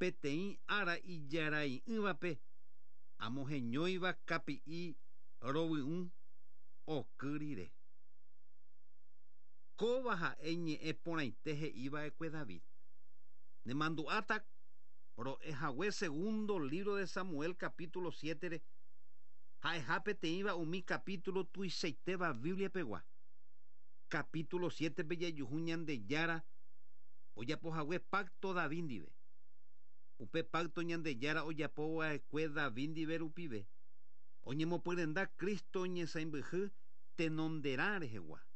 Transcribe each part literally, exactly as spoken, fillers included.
Peteĩ ára ijarai'ỹvape amoheñóiva kapi'i rovy'ũ oky rire. Kóva ha'e ñe'ẽ porãite he'iva'ekue David. Nemandu'áta ro'ehague segundo libro de Samuel capítulo siete ha'eha peteĩva umi capítulo tuichaitéva Biblia pegua. Capítulo siete pe jajuhu Ñandejára ojapohague pacto David ndive. Upe pacto Ñandejára ojapova'ekue David ndive rupive. Oñemopyrenda Cristo ñesãimbyhy tenonderã rehegua.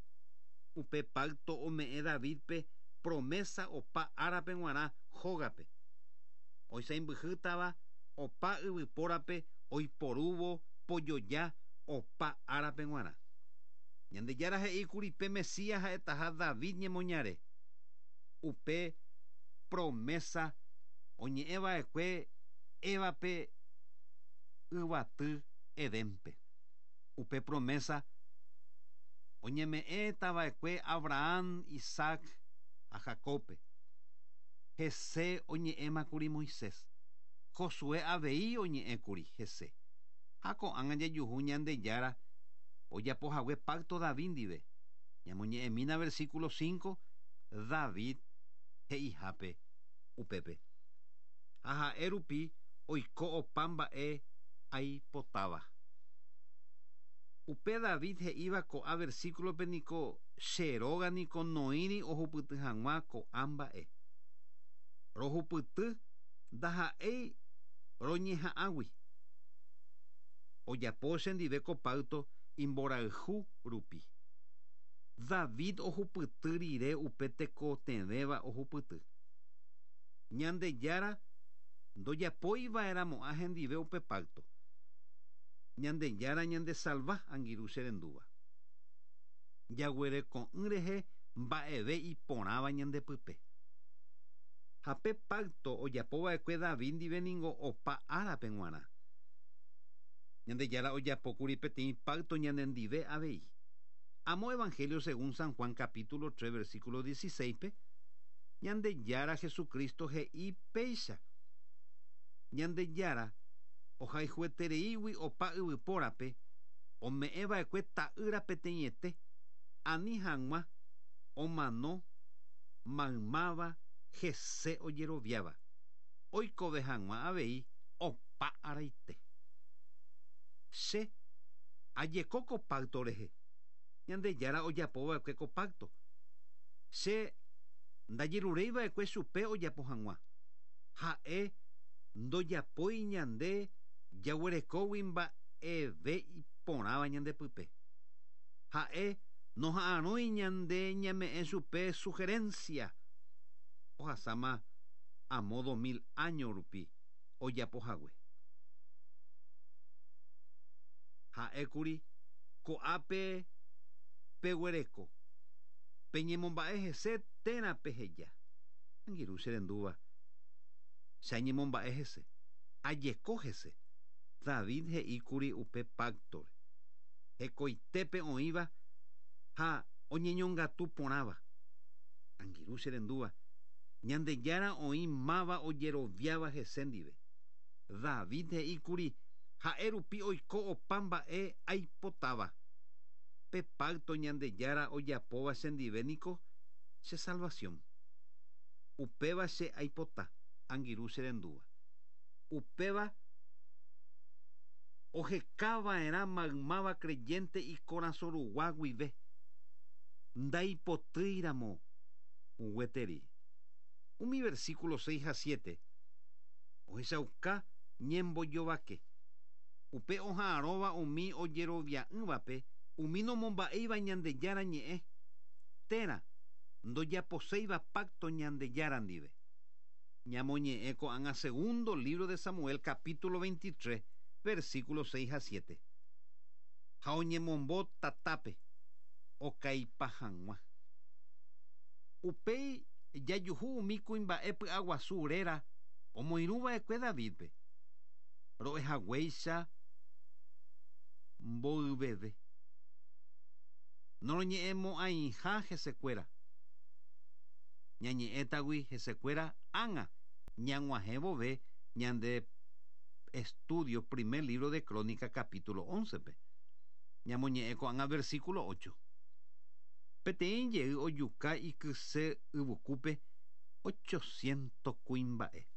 Upe pacto ome'ẽ Davidpe promesa opa árape g̃uarã hógape. Oisãimbyhýtava opa yvypórape oiporúvo pojoja opa árape g̃uarã. Ñandejára he'íkuri pe Mesías ha'etaha David ñemoñare. Upe promesa oñe'ẽva'ekue Evape yvaty Edénpe. Upe promesa oñeme'ẽtava'ekue Abraham, Isaac ha Jacobpe. Hese oñe'ẽmakuri Moisés. Josué avei oñe'ẽkuri hese. Ha ko'ág̃a jajuhu Ñandejára ojapohague pacto David ndive. Ñamoñe'ẽmína versículo cinco David he'ihápe upépe. Ha ha'e rupi oiko opa mba'e aipotáva. Upe David he'íva ko'ã versículope niko che róga niko noĩri ohupyty hag̃ua ko'ã mba'e. Rohupyty ndaha'éi roñeha'ãgui. Ojapo chendive ko pacto imborayhu rupi. David ohupyty rire upe tekotevẽva ohupyty. Ñandejára ndojapoiva'erãmo'ã hendive upe pacto. Ñandejára ñandesalva angirũ che rendúva. Jaguereko'ỹ rehe mba'eve iporãva ñandepype. Ha pe pacto ojapova'ekue David ndive ningo opa árape g̃uarã. Ñandejára ojapókuri peteĩ pacto ñanendive avei. Amo Evangelio según San Juan capítulo tres versículo dieciséis pe Ñandejára Jesucristo he'i péicha. Ñandejára ohayhuetereígui opa yvypórape ome'ẽva'ekue ta'ýra peteĩete ani hag̃ua omano maymáva hese ojeroviáva oikove hag̃ua avei opa araite. Che ajeko ko pacto rehe. Ñandejára ojapova'ekue ko pacto. Che ndajerureiva'ekue chupe ojapo hag̃ua. Ha'e ndojapói ñande jaguerekógui mba'eve iporãva ñandepype. Ha'e noha'arõi ñande ñame'ẽ chupe sugerencia. Ohasáma amo dos mil año rupi ojapohague. Ha'ékuri ko'ápe peguereko peñemomba'e hese térã peheja. Angirũ che rendúva che añemomba'e hese ajeko hese. David he'íkuri upe pactore. Hekoitépe oĩva ha oñeñongatu porãva. Angirũ che rendúva Ñandejára oĩ máva ojeroviáva hese ndive. David he'íkuri ha'e rupi oiko opa mba'e aipotáva. Pe pacto Ñandejára ojapóva chendive niko che salvación. Upéva che aipota angirũ che rendúva. Upéva ohekava'erã maymáva creyente ikorasõ rugua guive. Ndaipotýiramo gueteri. Umi versículo seis a siete ohechauka ñembojovake. Upe oha'arõva umi ojerovia'ỹvape umi nomomba'éiva Ñandejára ñe'ẽ térã ndojaposéiva pacto Ñandejára ndive. Ñamoñe'ẽ ko'ág̃a segundo libro de Samuel capítulo veintitrés versículo seis a siete. Ha oñemombo tatápe okaipa hag̃ua. Upéi jajuhu umi kuimba'e py'aguasu réra omoirũva'ekue Davidpe. Ro'ehaguéicha mboyveve. Noroñe'ẽmo'ãiha hesekuéra. Ñañe'ẽtagui hesekuéra ág̃a Ñag̃uahẽvove ñande estudio primer libro de Crónica capítulo once pe. Ñamoñe'ẽ ko'ág̃a versículo ocho. Peteĩ jey ojuka ikyse yvykúpe ochocientos kuimba'e.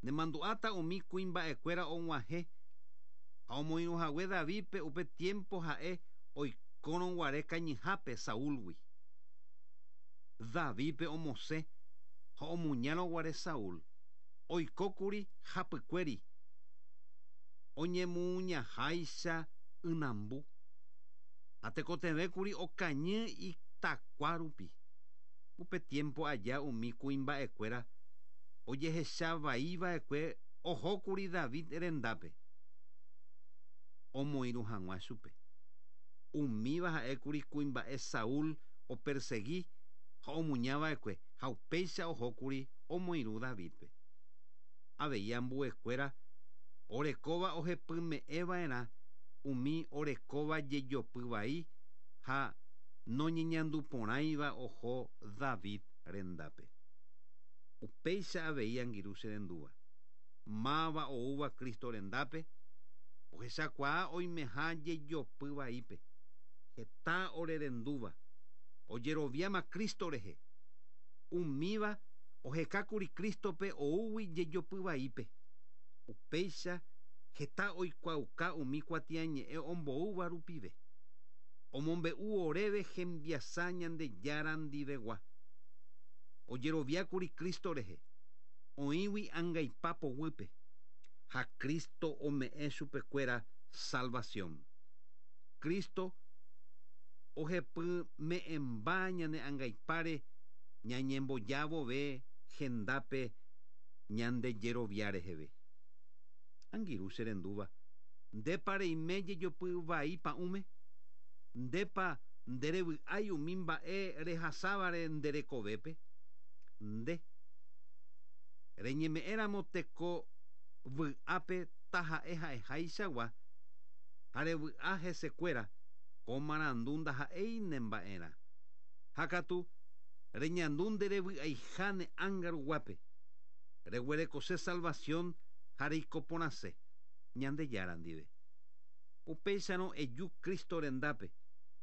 Nemandu'áta umi kuimba'ekuéra og̃uahẽ ha omoirũhague Davidpe upe tiempo ha'e oikórõguare kañyhápe Saúlgui. Davidpe omosẽ ha omuñárõguare Saúl oikókuri hapykuéri oñemuñaháicha ynambu ha tekotevẽkuri okañy itakua rupi. Upe tiempo aja umi kuimba'ekuéra ojehechavaiva'ekue ohókuri David rendápe omoirũ hag̃ua chupe. Umíva ha'ékuri kuimba'e Saúl opersegui ha omuñava'ekue ha upéicha ohókuri omoirũ Davidpe. Avei ambuekuéra orekóva ohepyme'ẽva'erã umi orekóva jejopy vai ha noñeñanduporãiva oho David rendápe. Upéicha avei angirũ che rendúva. Máva oúva Cristo rendápe ohechakuaa oimeha jejopy vaípe. Heta orerendúva ojeroviáma Cristo rehe. Umíva ohekákuri Cristope oúgui jejopy vaípe. Upéicha heta oikuaauka umi kuatiañe'ẽ omboúva rupive. Omombe'u oréve hembiasa Ñandejára ndivegua. Ojeroviákuri Cristo rehe. Oĩgui angaipa poguýpe. Ha Cristo ome'ẽ chupekuéra salvación. Cristo ohepyme'ẽmba ñane angaipáre ñañembojavove hendápe ñandejerovia reheve. Angirũ che rendúva, ndépa reime jejopy vai pa'ũme? Ndépa nderevy'ái umi mba'e rehasávare nderekovépe? Nde reñeme'ẽramo teko vy'ápe taha'e ha'eháichagua ha revy'a hesekuéra ko marandu ndaha'éi nemba'erã. Ha katu reñandu nderevy'aiha ne ánga ruguápe. Reguerekose salvación ha reikoporãse Ñandejára ndive. Upéicharõ eju Cristo rendápe,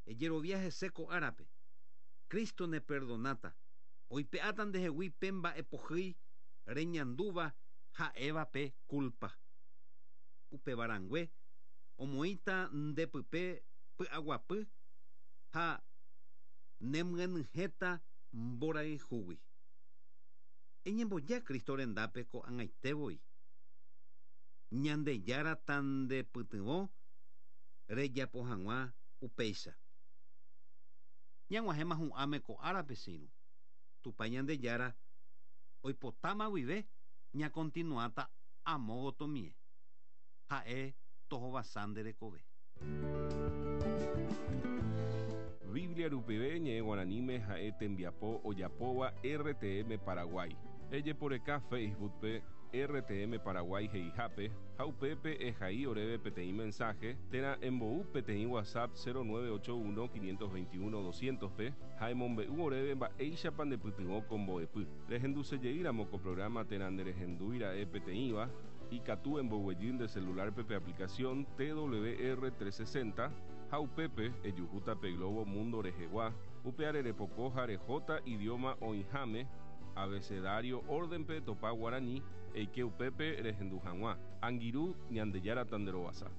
ejerovia hese ko árape. Cristo neperdonáta, oipe'áta ndehegui pe mba'epohýi reñandúva ha'éva pe culpa. Upevarãngue omoĩta ndepype py'aguapy ha nemyenyhẽta mborayhúgui. Eñemboja Cristo rendápe ko'ag̃aitevoi. Ñandejára tandepytyvõ rejapo hag̃ua upéicha. Ñag̃uahẽma hu'ãme ko árape che irũ. Tupã Ñandejára oipotáma guive ñakontinuáta amo gotomie. Ha'e tohovasa nde rekove. Biblia rupive ñe'ẽ guaraníme ha'e tembiapo ojapóva R T M Paraguay. Ejeporeka Facebookpe R T M Paraguay he'ihápe ha upépe ehai oréve peteĩ mensaje térã embou peteĩ WhatsApp cero nueve ocho uno quinientos veintiuno doscientos pe ha emombe'u oréve mba'éichapa ndepytyvõ ko mbo'epy. Rehendusejeýramo ko programa térã nderehendúira'e peteĩva ikatu emboguejy nde celularpe pe aplicación T W R trescientos sesenta ha upépe ejuhúta pe Globo Mundo rehegua upe arerepoko ha rehóta idioma oĩháme abecedario órdenpe topa guarani eike upépe rehendu hag̃ua. Angirũ Ñandejára tanderovasa.